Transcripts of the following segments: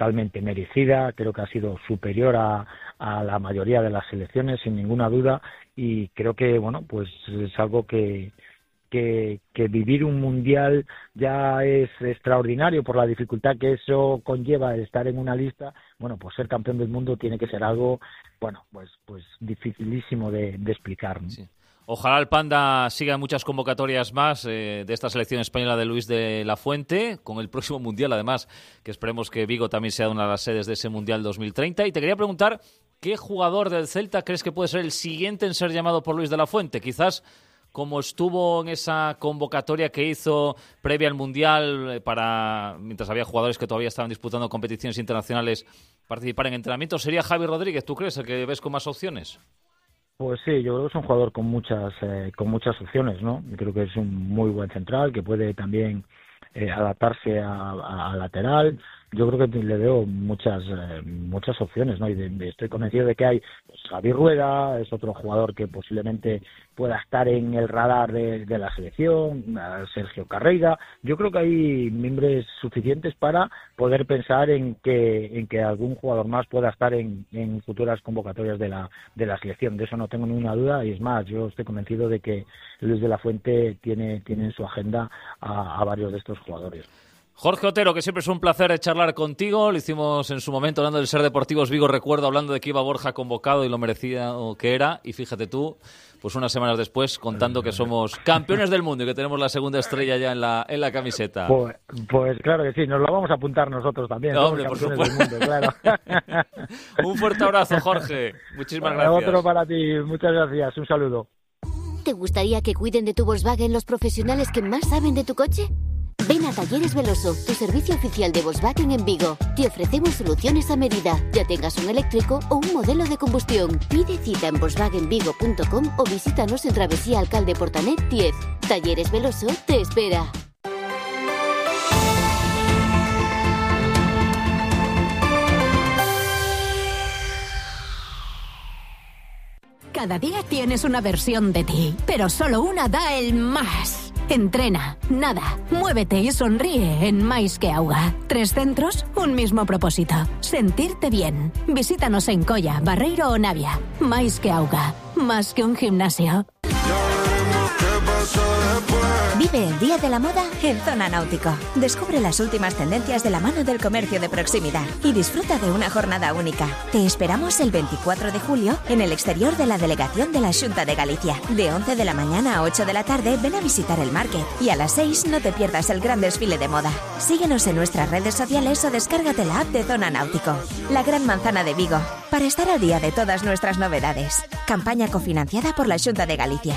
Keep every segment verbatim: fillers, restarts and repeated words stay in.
totalmente merecida, creo que ha sido superior a, a la mayoría de las selecciones, sin ninguna duda, y creo que, bueno, pues es algo que... Que, que vivir un mundial ya es extraordinario por la dificultad que eso conlleva de estar en una lista. Bueno, pues ser campeón del mundo tiene que ser algo, bueno, pues pues dificilísimo de, de explicar, ¿no? Sí. Ojalá el Panda siga en muchas convocatorias más eh, de esta selección española de Luis de la Fuente, con el próximo mundial, además, que esperemos que Vigo también sea una de las sedes de ese mundial dos mil treinta. Y te quería preguntar, ¿qué jugador del Celta crees que puede ser el siguiente en ser llamado por Luis de la Fuente? Quizás como estuvo en esa convocatoria que hizo previa al Mundial, para mientras había jugadores que todavía estaban disputando competiciones internacionales, participar en entrenamientos, ¿sería Javi Rodríguez, tú crees, el que ves con más opciones? Pues sí, yo creo que es un jugador con muchas eh, con muchas opciones, ¿no? Yo creo que es un muy buen central, que puede también eh, adaptarse a, a, a lateral. Yo creo que le veo muchas eh, muchas opciones, ¿no? Y de, de, estoy convencido de que hay, pues, Javi Rueda es otro jugador que posiblemente pueda estar en el radar de, de la selección, Sergio Carreira. Yo creo que hay miembros suficientes para poder pensar en que en que algún jugador más pueda estar en, en futuras convocatorias de la de la selección. De eso no tengo ninguna duda, y es más, yo estoy convencido de que Luis de la Fuente tiene tiene en su agenda a, a varios de estos jugadores. Jorge Otero, que siempre es un placer charlar contigo. Lo hicimos en su momento hablando del Ser Deportivos Vigo, recuerdo, hablando de que iba Borja convocado y lo merecía o que era. Y fíjate tú, pues unas semanas después, contando que somos campeones del mundo y que tenemos la segunda estrella ya en la en la camiseta. Pues, pues claro que sí, nos lo vamos a apuntar nosotros también. No, hombre, por supuesto. Del mundo, claro. Un fuerte abrazo, Jorge. Muchísimas bueno, gracias. Otro para ti. Muchas gracias. Un saludo. ¿Te gustaría que cuiden de tu Volkswagen los profesionales que más saben de tu coche? Ven a Talleres Veloso, tu servicio oficial de Volkswagen en Vigo. Te ofrecemos soluciones a medida, ya tengas un eléctrico o un modelo de combustión. Pide cita en volkswagen vigo punto com o visítanos en Travesía Alcalde Portanet diez. Talleres Veloso te espera. Cada día tienes una versión de ti, pero solo una da el más. Entrena, nada, muévete y sonríe en Mais que Auga. Tres centros, un mismo propósito. Sentirte bien. Visítanos en Colla, Barreiro o Navia. Mais que Auga. Más que un gimnasio. Vive el Día de la Moda en Zona Náutico. Descubre las últimas tendencias de la mano del comercio de proximidad y disfruta de una jornada única. Te esperamos el veinticuatro de julio en el exterior de la delegación de la Xunta de Galicia. De once de la mañana a ocho de la tarde ven a visitar el market y a las seis no te pierdas el gran desfile de moda. Síguenos en nuestras redes sociales o descárgate la app de Zona Náutico. La gran manzana de Vigo, para estar al día de todas nuestras novedades. Campaña cofinanciada por la Xunta de Galicia.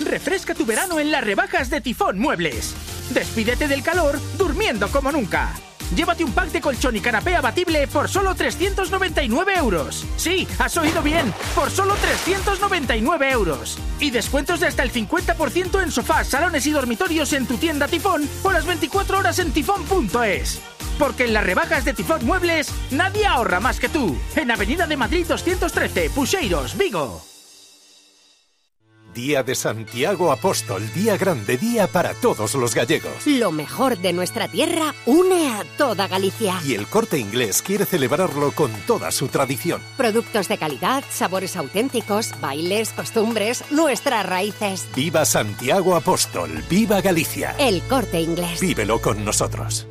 Refresca tu verano en las rebajas de Tifón Muebles. Despídete del calor durmiendo como nunca. Llévate un pack de colchón y canapé abatible por solo trescientos noventa y nueve euros. Sí, has oído bien, por solo trescientos noventa y nueve euros. Y descuentos de hasta el cincuenta por ciento en sofás, salones y dormitorios en tu tienda Tifón o las veinticuatro horas en tifón punto es. Porque en las rebajas de Tifón Muebles nadie ahorra más que tú. En Avenida de Madrid doscientos trece, Puxeiros, Vigo. Día de Santiago Apóstol, día grande, día para todos los gallegos. Lo mejor de nuestra tierra une a toda Galicia. Y el Corte Inglés quiere celebrarlo con toda su tradición. Productos de calidad, sabores auténticos, bailes, costumbres, nuestras raíces. ¡Viva Santiago Apóstol! ¡Viva Galicia! El Corte Inglés. Vívelo con nosotros.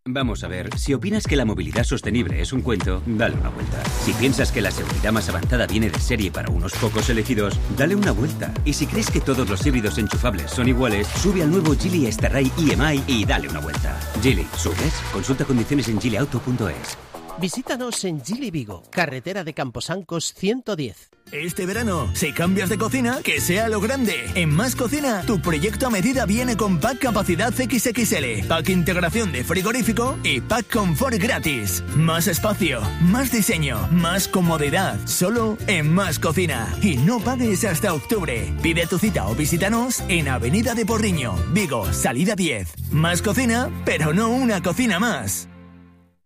Vamos a ver, si opinas que la movilidad sostenible es un cuento, dale una vuelta. Si piensas que la seguridad más avanzada viene de serie para unos pocos elegidos, dale una vuelta. Y si crees que todos los híbridos enchufables son iguales, sube al nuevo Geely Starray I M I y dale una vuelta. Geely, ¿subes? Consulta condiciones en geely auto punto es. Visítanos en Geely Vigo, carretera de Camposancos ciento diez. Este verano, si cambias de cocina, que sea lo grande. En Más Cocina, tu proyecto a medida viene con pack capacidad equis equis ele, pack integración de frigorífico y pack confort gratis. Más espacio, más diseño, más comodidad, solo en Más Cocina. Y no pagues hasta octubre. Pide tu cita o visítanos en Avenida de Porriño, Vigo, salida diez. Más Cocina, pero no una cocina más.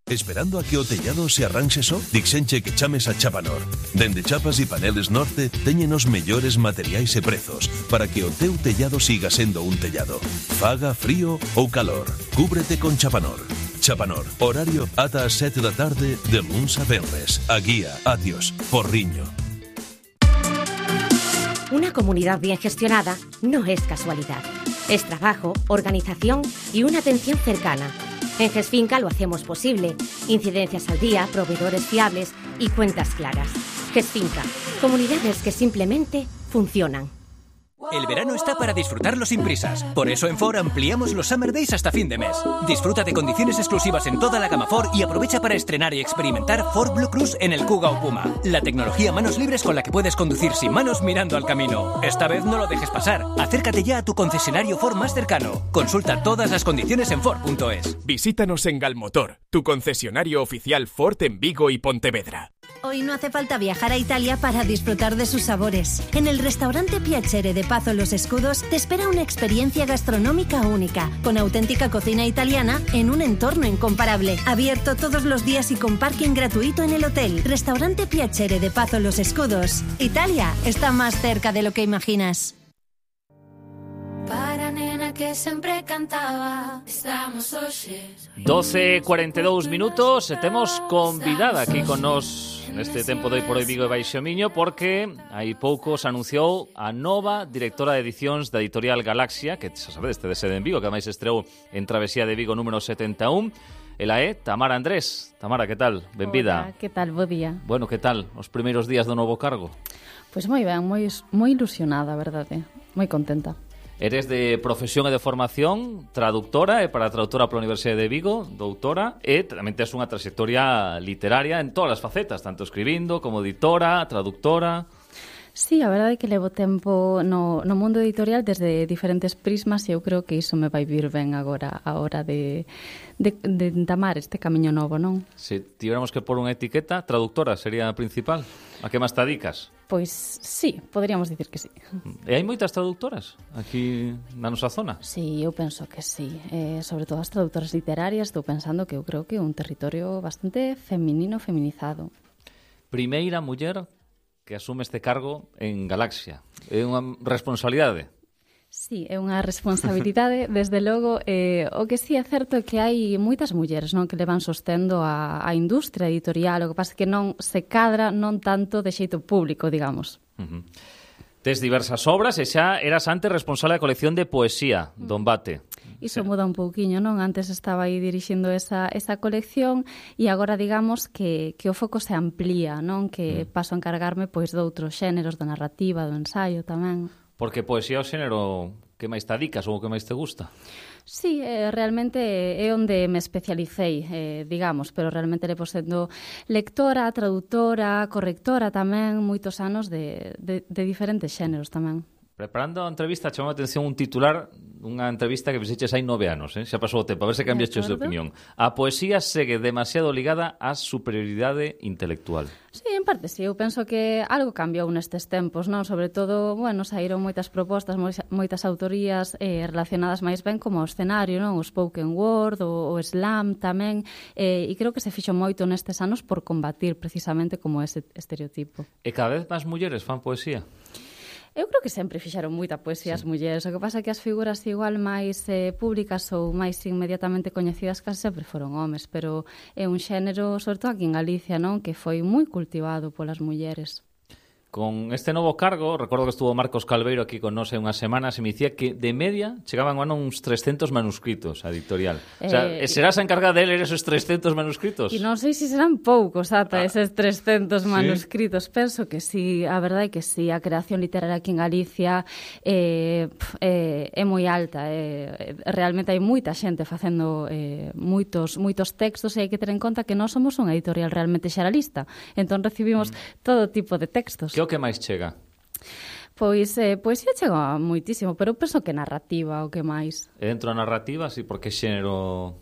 Esperando a que o tellado se arranxe só? Dixenche que chames a Chapanor. Dende Chapas e Paneles Norte teñen os mellores materiais e prezos para que o teu tellado siga sendo un tellado. Faga frío ou calor, cúbrete con Chapanor. Chapanor. Horario ata as sete da tarde de luns a venres. A guía Atios Porriño. Una comunidad bien gestionada no es casualidad. Es trabajo, organización y una atención cercana. En GESFinca lo hacemos posible. Incidencias al día, proveedores fiables y cuentas claras. GESFinca, comunidades que simplemente funcionan. El verano está para disfrutarlo sin prisas. Por eso en Ford ampliamos los Summer Days hasta fin de mes. Disfruta de condiciones exclusivas en toda la gama Ford y aprovecha para estrenar y experimentar Ford Blue Cruise en el Kuga o Puma. La tecnología manos libres con la que puedes conducir sin manos mirando al camino. Esta vez no lo dejes pasar. Acércate ya a tu concesionario Ford más cercano. Consulta todas las condiciones en Ford punto es. Visítanos en Galmotor, tu concesionario oficial Ford en Vigo y Pontevedra. Hoy no hace falta viajar a Italia para disfrutar de sus sabores. En el restaurante Piacere de Pazo Los Escudos te espera una experiencia gastronómica única, con auténtica cocina italiana en un entorno incomparable. Abierto todos los días y con parking gratuito en el hotel. Restaurante Piacere de Pazo Los Escudos. Italia está más cerca de lo que imaginas. Para nena que sempre cantaba, estamos hoxe. doce e cuarenta e dous minutos, e temos convidada aquí con nos neste tempo de Hoy por Hoy Vigo e Baixo Miño, porque hai pouco se anunciou a nova directora de edicións da editorial Galaxia, que xa sabedes, este de sede en Vigo, que ademais estreou en Travesía de Vigo número setenta e un. Ela é Tamara Andrés. Tamara, que tal? Benvida. Hola, que tal? Bo día. Bueno, que tal os primeiros días do novo cargo? Pois moi ben, moi, moi ilusionada, a verdade. Moi contenta. Eres de profesión e de formación traductora e para traductora pola Universidade de Vigo, doutora, e tamén tes unha trayectoria literaria en todas as facetas, tanto escribindo como editora, traductora. Sí, a verdade é que levo tempo no, no mundo editorial desde diferentes prismas e eu creo que iso me vai vir ben agora a hora de, de, de entamar este camiño novo, non? Se tiveramos que pôr unha etiqueta, traductora sería a principal. A que máis te dedicas? Pois sí, poderíamos dicir que sí. E hai moitas traductoras aquí na nosa zona? Sí, eu penso que sí. Eh, sobre todo as traductoras literarias, estou pensando que eu creo que é un territorio bastante feminino, feminizado. Primeira muller que asume este cargo en Galaxia. É unha responsabilidade. Sí, é unha responsabilidade, desde logo. Eh, o que sí é certo é que hai moitas mulleres, non, que levan sostendo a, a industria editorial, o que pasa é que non se cadra non tanto de xeito público, digamos. Uh-huh. Tes diversas obras e xa eras antes responsable da colección de poesía, Don Bate. Iso muda un pouquiño, non? Antes estaba aí dirixindo esa, esa colección e agora, digamos, que, que o foco se amplía, non? Que mm. paso a encargarme pois de outros xéneros, da narrativa, do ensaio tamén. Porque poesía é o xénero que máis te adicas ou que máis te gusta? Sí, eh, realmente é onde me especialicei, eh, digamos, pero realmente levo sendo lectora, traductora, correctora tamén, moitos anos de, de, de diferentes xéneros tamén. Preparando a entrevista, chamou a atención un titular dunha entrevista que fixeches hai nove anos, eh? Xa pasou o tempo, a ver se cambiaches de opinión. A poesía segue demasiado ligada á superioridade intelectual. Sí, en parte sí, eu penso que algo cambiou nestes tempos, non? Sobre todo, bueno, saíron moitas propostas, moitas autorías eh, relacionadas máis ben como o escenario, non? O spoken word, o, o slam tamén, eh, e creo que se fixo moito nestes anos por combatir precisamente como ese estereotipo. E cada vez máis mulleres fan poesía? Eu creo que sempre fixeron moita poesía as mulleres. O que pasa é que as figuras igual máis eh, públicas ou máis inmediatamente coñecidas case sempre foron homes, pero é un xénero, sobre todo aquí en Galicia, non, que foi moi cultivado polas mulleres. Con este novo cargo, recordo que estuvo Marcos Calveiro aquí con nós hai unhas semanas e me dicía que de media chegaban a uns trescentos manuscritos a editorial. Eh, o sea, serás a encargada de ler esos trescentos manuscritos? E non sei se serán poucos ata ah, eses trescentos manuscritos. ¿Sí? Penso que sí, a verdade é que sí. A creación literaria aquí en Galicia eh, eh, é moi alta. Eh, realmente hai moita xente facendo eh, moitos, moitos textos e hai que ter en conta que nós somos unha editorial realmente xeralista. Entón recibimos mm. todo tipo de textos. Que o que máis chega? Pois, eh, poesía chega moitísimo, pero eu penso que narrativa o que máis. E dentro da narrativa, sí, porque xénero...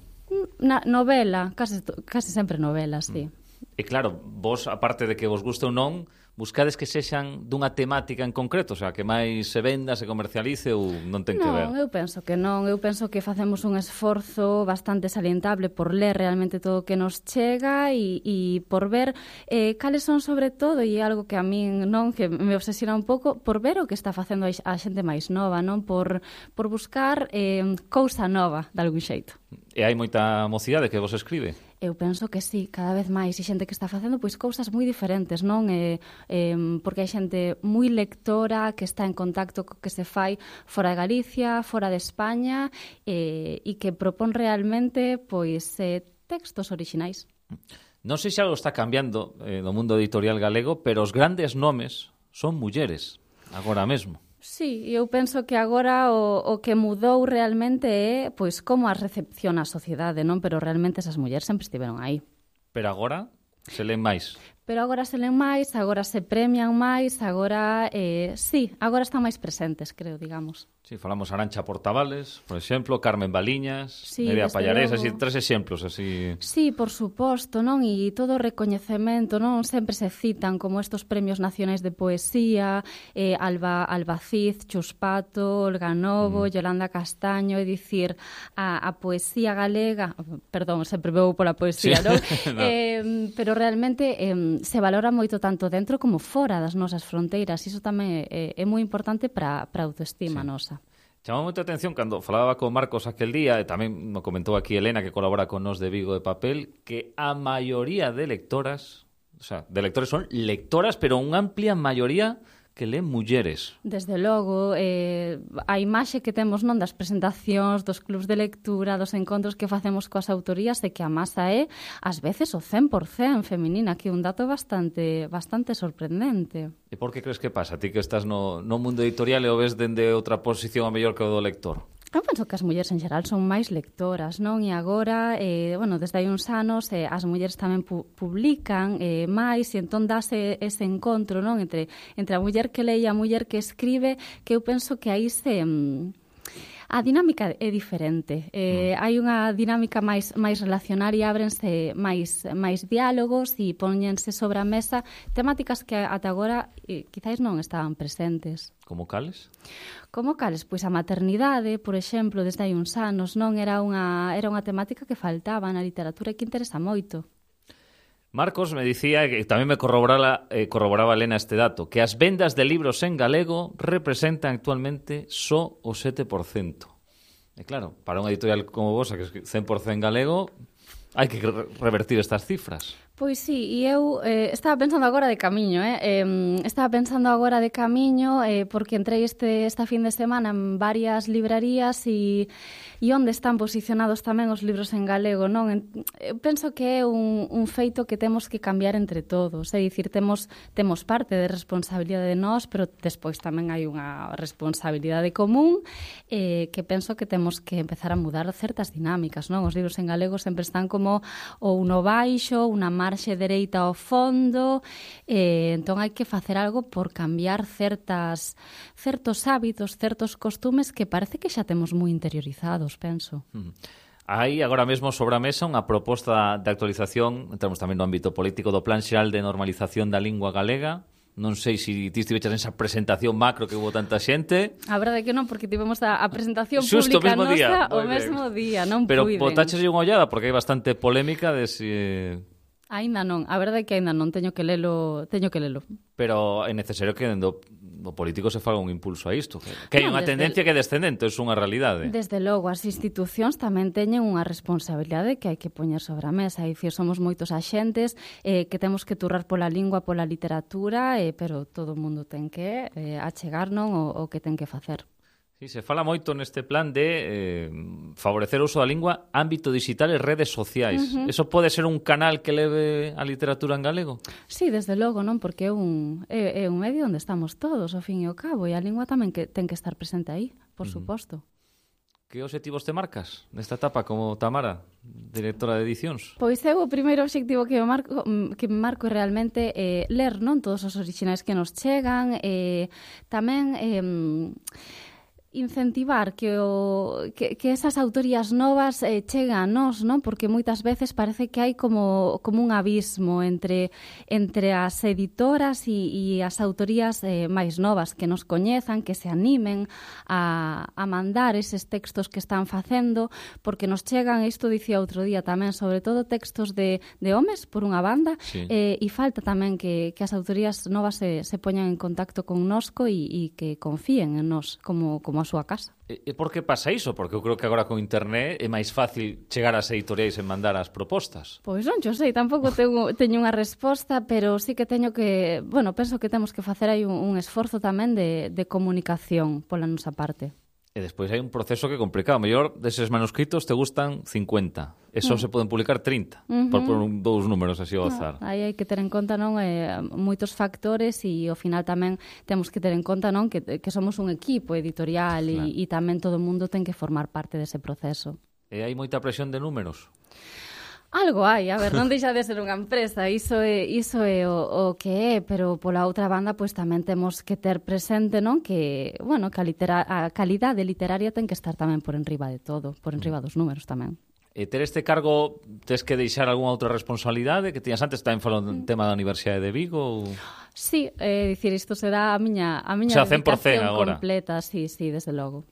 Na, novela, case, case sempre novelas, sí. E claro, vos, aparte de que vos guste ou non, buscades que sexan dunha temática en concreto, o sea, que máis se venda, se comercialice ou non ten que ver? Non, eu penso que non, eu penso que facemos un esforzo bastante salientable por ler realmente todo o que nos chega e, e por ver eh, cales son sobre todo, e algo que a min non, que me obsesiona un pouco, por ver o que está facendo a xente máis nova, non? Por, por buscar eh, cousa nova, de algún xeito. E hai moita mocidade que vos escribe? Eu penso que sí, cada vez máis, e xente que está facendo pois cousas moi diferentes, non? Eh, eh, porque hai xente moi lectora que está en contacto co que se fai fora de Galicia, fora de España, eh, e que propón realmente pois eh, textos orixinais. Non sei se algo está cambiando eh, no mundo editorial galego, pero os grandes nomes son mulleres, agora mesmo. Sí, eu penso que agora o, o que mudou realmente é pois como as recepciona a sociedade, non? Pero realmente esas mulleres sempre estiveron aí. Pero agora se len máis. Pero agora se len máis, agora se premian máis, agora, eh, sí, agora están máis presentes, creo, digamos. Sí, falamos Arancha Portavales, por exemplo, Carmen Baliñas, sí, Nerea Pallarés, así, logo. tres exemplos, así... Sí, por suposto, non? E todo o recoñecemento, non? Sempre se citan como estos premios nacionais de poesía, eh, Alba, Alba Cid, Chus Pato, Olga Novo, mm. Yolanda Castaño, é dicir, a, a poesía galega, perdón, sempre vou pola poesía, sí. non? no. eh, pero realmente eh, se valora moito tanto dentro como fora das nosas fronteiras, e iso tamén é, é moi importante para a autoestima sí. nosa. Chamou moita atención cando falaba con Marcos aquel día, e tamén me comentou aquí Elena, que colabora con nos de Vigo de Papel, que a maioría de lectoras, o sea, de lectores son lectoras, pero unha amplia maioría que leen mulleres. Desde logo, eh, a imaxe que temos non das presentacións, dos clubs de lectura, dos encontros que facemos coas autorías, é que a masa é, ás veces, o cen por cen feminina, que é un dato bastante bastante sorprendente. E por que crees que pasa? Ti que estás no, no mundo editorial e o ves dende outra posición a mellor que o do lector? Eu penso que as mulleres en xeral son máis lectoras, non? E agora, eh, bueno, desde hai uns anos, eh, as mulleres tamén pu publican eh, máis, e entón dase ese encontro, non? Entre, entre a muller que lee e a muller que escribe, que eu penso que aí se... Mm, a dinámica é diferente. Eh, mm. Hai unha dinámica máis máis relacionaria, ábrense máis máis diálogos e póñense sobre a mesa temáticas que ata agora eh, quizáis non estaban presentes. Como cales? Como cales? Pois a maternidade, por exemplo, desde hai uns anos, non era unha era unha temática que faltaba na literatura e que interesa moito. Marcos me dicía, que tamén me corroboraba, eh, corroboraba Elena este dato, que as vendas de libros en galego representan actualmente só o sete por cento. E claro, para unha editorial como vos, que é cen por cen galego, hai que re revertir estas cifras. Pois sí, e eu eh, estaba pensando agora de camiño, eh? eh estaba pensando agora de camiño eh, porque entrei este, esta fin de semana en varias librarías e, e onde están posicionados tamén os libros en galego, non? En, eu penso que é un, un feito que temos que cambiar entre todos, é dicir, temos, temos parte de responsabilidade de nós, pero despois tamén hai unha responsabilidade común eh, que penso que temos que empezar a mudar certas dinámicas, non? Os libros en galego sempre están como ou no baixo, unha marxe dereita ao fondo, eh, entón hai que facer algo por cambiar certas certos hábitos, certos costumes que parece que xa temos moi interiorizados, penso. Mm. Hai agora mesmo sobre a mesa unha proposta de actualización, entramos tamén no ámbito político, do Plan Xeral de Normalización da Lingua Galega. Non sei se ti estiveches nesa presentación macro que hubo tanta xente. A verdade é que non, porque tivemos a, a presentación Xusto pública mesmo nosa día. o mesmo día, non Pero puiden. botaches unha ollada porque hai bastante polémica de si... Aínda non, a verdade é que aínda non, teño que lelo, teño que lelo. Pero é necesario que do, do político se faga un impulso a isto. Que hai non, unha tendencia que é descendente, é unha realidade. Desde logo, as institucións tamén teñen unha responsabilidade que hai que poñer sobre a mesa. É dicir, somos moitos axentes eh, que temos que turrar pola lingua, pola literatura, eh, pero todo o mundo ten que eh, achegar non o, o que ten que facer. Sí, se fala moito neste plan de eh, favorecer o uso da lingua, ámbito digital e redes sociais. Uh -huh. Eso pode ser un canal que leve a literatura en galego? Sí, desde logo, non? Porque é un, é, é un medio onde estamos todos, ao fin e ao cabo, e a lingua tamén que ten que estar presente aí, por uh -huh. suposto. Que obxectivos te marcas nesta etapa como Tamara, directora de edicións? Pois eu o primeiro obxectivo que me marco, que me marco é realmente eh, ler non todos os orixinais que nos chegan, eh, tamén... Eh, incentivar que o que, que esas autorías novas eh, cheguen a nós, non? Porque moitas veces parece que hai como como un abismo entre entre as editoras e, e as autorías eh, máis novas que nos coñezan, que se animen a, a mandar eses textos que están facendo, porque nos chegan, isto dicía outro día tamén, sobre todo textos de, de homes, por unha banda, sí. eh, e falta tamén que, que as autorías novas se, se poñan en contacto con nosco e, e que confíen en nós como, como a súa casa. E por que pasa iso? Porque eu creo que agora con internet é máis fácil chegar ás editoriais e mandar as propostas. Pois non, eu sei, tampouco teño, teño unha resposta, pero sí que teño que, bueno, penso que temos que facer aí un, un esforzo tamén de, de comunicación pola nosa parte. E despois hai un proceso que é complicado. O mellor deses manuscritos te gustan cincuenta. E só mm. se poden publicar trinta. Uh-huh. Por, por un, dous números así ao azar. No, aí hai que ter en conta, non, eh, moitos factores e ao final tamén temos que ter en conta, non, que, que somos un equipo editorial claro. e, e tamén todo o mundo ten que formar parte dese proceso. E hai moita presión de números? Algo hai, a ver, non deixa de ser unha empresa, iso é, iso é o, o que é, pero pola outra banda pois tamén temos que ter presente, non, que, bueno, que a, litera, a calidade literaria ten que estar tamén por enriba de todo, por enriba dos números tamén. E ter este cargo, tes que deixar algunha outra responsabilidade que tiñas antes, tamén falando do tema da Universidade de Vigo? Ou... Sí, é dicir, isto será a miña, a miña o sea, cen por cen dedicación agora. Completa, sí, sí, desde logo.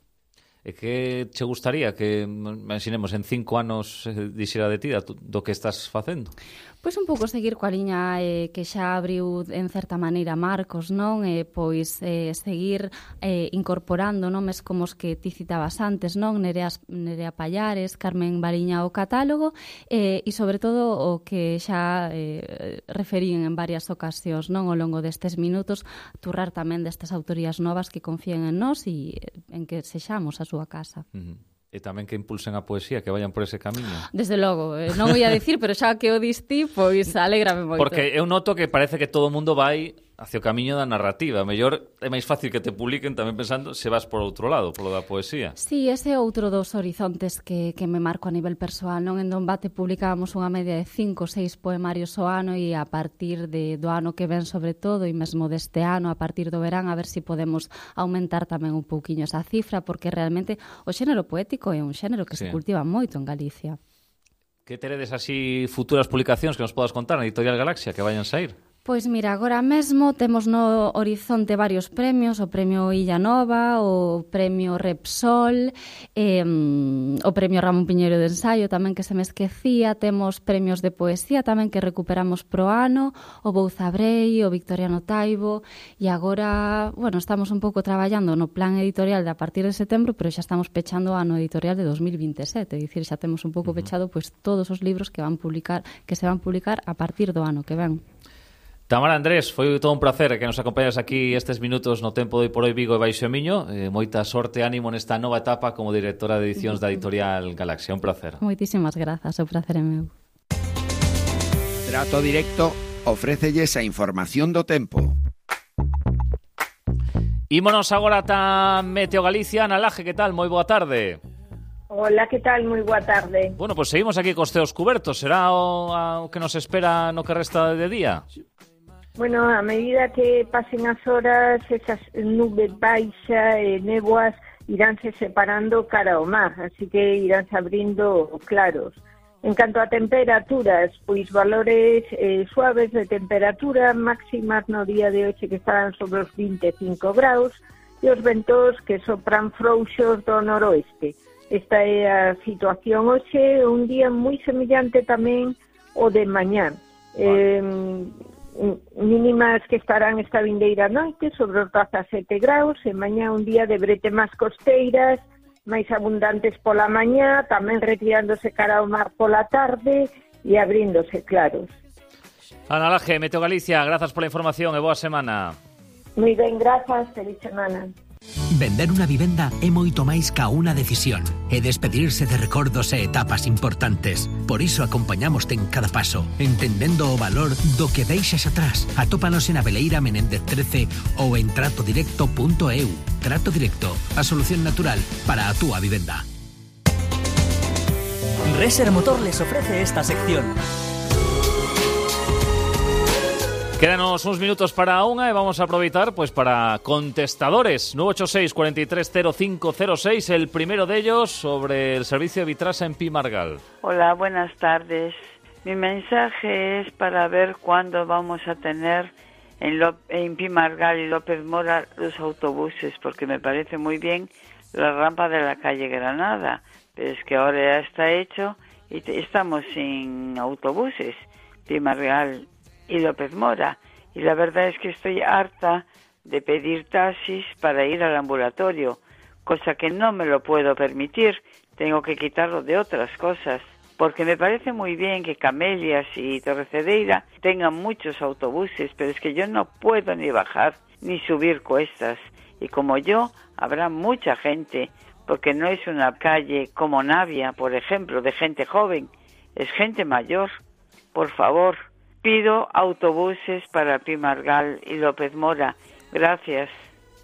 E que che gustaría que, imaginemos, en cinco anos eh, dixera de ti do que estás facendo? Pois un pouco seguir coa liña eh, que xa abriu en certa maneira Marcos, non? Eh, pois eh, seguir eh, incorporando nomes como os que ti citabas antes, non? Nerea, Nerea Pallares, Carmen Bariña ao catálogo eh, e sobre todo o que xa eh, referín en varias ocasións, non? Ao longo destes minutos, turrar tamén destas autorías novas que confíen en nós e en que sexamos a súa casa. Uh-huh. E tamén que impulsen a poesía, que vayan por ese camiño. Desde logo, eh, non o ia dicir, pero xa que o diste, pois alégrame moito. Porque eu noto que parece que todo o mundo vai hacia o camiño da narrativa. Mellor é máis fácil que te publiquen tamén pensando se vas por outro lado, polo da poesía. Sí, ese é outro dos horizontes que, que me marco a nivel persoal, non? En Donbate publicábamos unha media de cinco ou seis poemarios ao ano e a partir de, do ano que ven sobre todo e mesmo deste ano, a partir do verán, a ver se si podemos aumentar tamén un pouquiño esa cifra, porque realmente o xénero poético é un xénero que sí. se cultiva moito en Galicia. Que teredes así futuras publicacións que nos podas contar na Editorial Galaxia que vayan sair? Pois mira, agora mesmo temos no horizonte varios premios, o premio Illa Nova, o premio Repsol, eh, o premio Ramón Piñeiro de Ensaio tamén que se me esquecía, temos premios de poesía tamén que recuperamos pro ano, o Bouzabrei, o Victoriano Taibo, e agora, bueno, estamos un pouco traballando no plan editorial de a partir de setembro, pero xa estamos pechando o ano editorial de dos mil veintesete, é dicir, xa temos un pouco uh-huh. pechado pois todos os libros que van publicar, que se van publicar a partir do ano que ven. Tamara Andrés, foi todo un placer que nos acompañas aquí estes minutos no Tempo de Por Hoy Vigo e Baixo Miño. Eh, moita sorte e ánimo nesta nova etapa como directora de edicións da Editorial Galaxia. Un placer. Moitísimas grazas, o placer é meu. Trato Directo ofrécelles a información do tempo. Ímonos agora ata Meteo Galicia. Ana Laje, que tal? Moi boa tarde. Hola, que tal? Moi boa tarde. Bueno, pois pues seguimos aquí cos teos cubertos. Será o, a, o que nos espera no que resta de día? Bueno, a medida que pasen as horas, esas nubes baixas e néboas iránse separando cara ao mar, así que iránse abrindo claros. En canto a temperaturas, pois valores eh, suaves de temperatura, máximas no día de hoxe que estarán sobre os vinte e cinco graus, e os ventos que sopran frouxos do noroeste. Esta é a situación hoxe, un día moi semellante tamén o de mañán. Eh, mínimas que estarán esta vindeira noite sobre os dezasete graus, e mañá un día de bretemas costeiras, máis abundantes pola mañá, tamén retirándose cara ao mar pola tarde e abríndose claros. Ana Laje, Meteo Galicia, grazas pola información e boa semana. Moi ben, grazas, feliz semana. Vender unha vivenda é moito máis ca unha decisión, é despedirse de recordos e etapas importantes. Por iso acompañamoste en cada paso, entendendo o valor do que deixas atrás. Atópanos en Abeleira Menéndez trece ou en trato directo punto e u. Trato Directo, a solución natural para a túa vivenda. Reser Motor les ofrece esta sección. Quédanos unos minutos para una y vamos a aprovechar pues para contestadores. nueve ocho seis, cuatro tres cero cinco cero seis, el primero de ellos sobre el servicio de Vitrasa en Pi Margal. Hola, buenas tardes. Mi mensaje es para ver cuándo vamos a tener en, Lop- en Pi Margal y López Mora los autobuses, porque me parece muy bien la rampa de la calle Granada, pero es que ahora ya está hecho y te- estamos sin autobuses, Pi Margal y López Mora, y la verdad es que estoy harta de pedir taxis para ir al ambulatorio, cosa que no me lo puedo permitir, tengo que quitarlo de otras cosas, porque me parece muy bien que Camelias y Torrecedeira tengan muchos autobuses, pero es que yo no puedo ni bajar ni subir cuestas, y como yo, habrá mucha gente, porque no es una calle como Navia, por ejemplo, de gente joven, es gente mayor. Por favor, pido autobuses para Pi Margal y López Mora. Gracias.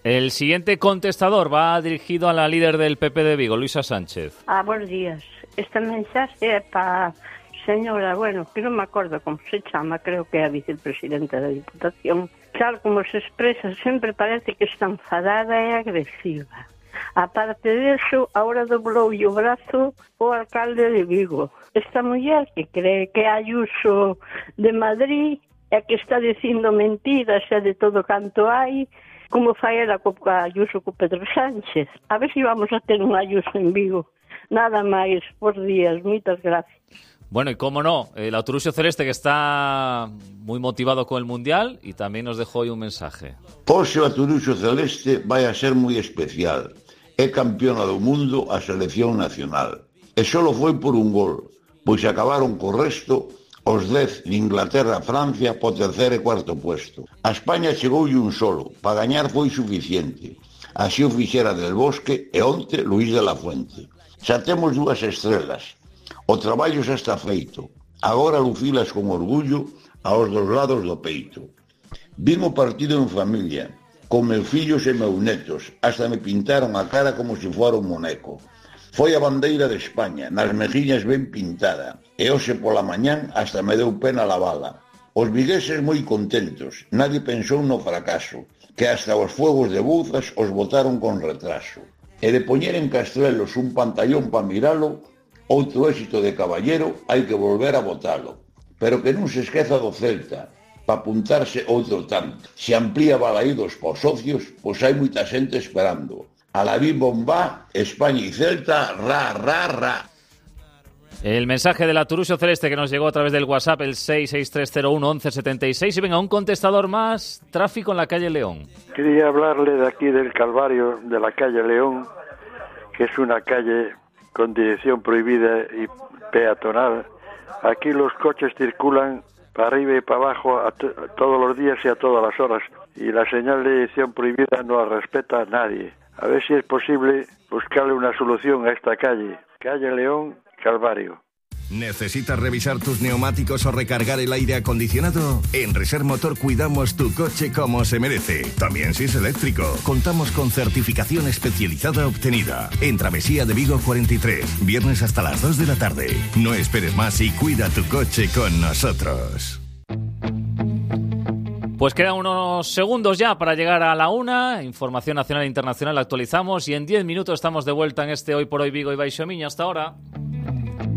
El siguiente contestador va dirigido a la líder del P P de Vigo, Luisa Sánchez. Ah, buenos días. Este mensaje é para señora, bueno, que non me acordo como se chama, creo que é a vicepresidenta da Diputación. Tal como se expresa, sempre parece que está enfadada e agresiva. Aparte de eso, ahora doblou o brazo o alcalde de Vigo. Esta muller que cree que é Ayuso de Madrid e que está dicindo mentiras e de todo canto hai, como fai ela co Ayuso co Pedro Sánchez. A ver se si vamos a ter un Ayuso en Vigo. Nada máis, por días, moitas gracias. Bueno, y cómo no, el Autorusio Celeste que está muy motivado con el Mundial y también nos dejó hoy un mensaje. Hoxe o Autorusio Celeste vai a ser moi especial. É campeona do mundo a selección nacional. E só foi por un gol, pois acabaron co resto os dez de Inglaterra a Francia po terceiro e cuarto puesto. A España chegoulle un solo, para gañar foi suficiente. Así o fixera Del Bosque e onte Luís de la Fuente. Xa temos dúas estrelas. O traballo xa está feito. Agora lucilas con orgullo aos dos lados do peito. Vim o partido en familia, con meus fillos e meus netos, hasta me pintaron a cara como se fora un moneco. Foi a bandeira de España, nas mejiñas ben pintada, e hoxe pola mañán hasta me deu pena lavala. Os vigueses moi contentos, nadie pensou no fracaso, que hasta os fuegos de Bouzas os botaron con retraso. E de poñer en Castrelos un pantallón pa miralo, outro éxito de caballero, hai que volver a botalo. Pero que non se esqueza do Celta, pa apuntarse outro tanto. Se amplía balaídos por socios, pois hai moita xente esperando. Alaví Bombá, España y Celta, ra, ra, ra. El mensaje del Autorusio Celeste que nos llegó a través del WhatsApp, el seis seis tres cero uno once setenta y seis. Y venga, un contestador más, tráfico en la calle León. Quería hablarle de aquí del Calvario, de la calle León, que es una calle con dirección prohibida y peatonal. Aquí los coches circulan para arriba y para abajo a t- todos los días y a todas las horas. Y la señal de dirección prohibida no la respeta a nadie. A ver si es posible buscarle una solución a esta calle. Calle León, Calvario. ¿Necesitas revisar tus neumáticos o recargar el aire acondicionado? En Reser Motor cuidamos tu coche como se merece. También si es eléctrico. Contamos con certificación especializada obtenida. En Travesía de Vigo cuarenta y tres. Viernes hasta las dos de la tarde. No esperes más y cuida tu coche con nosotros. Pues quedan unos segundos ya para llegar a la una. Información nacional e internacional actualizamos y en diez minutos estamos de vuelta en este Hoy por Hoy Vigo y Baixo Miño. Hasta ahora.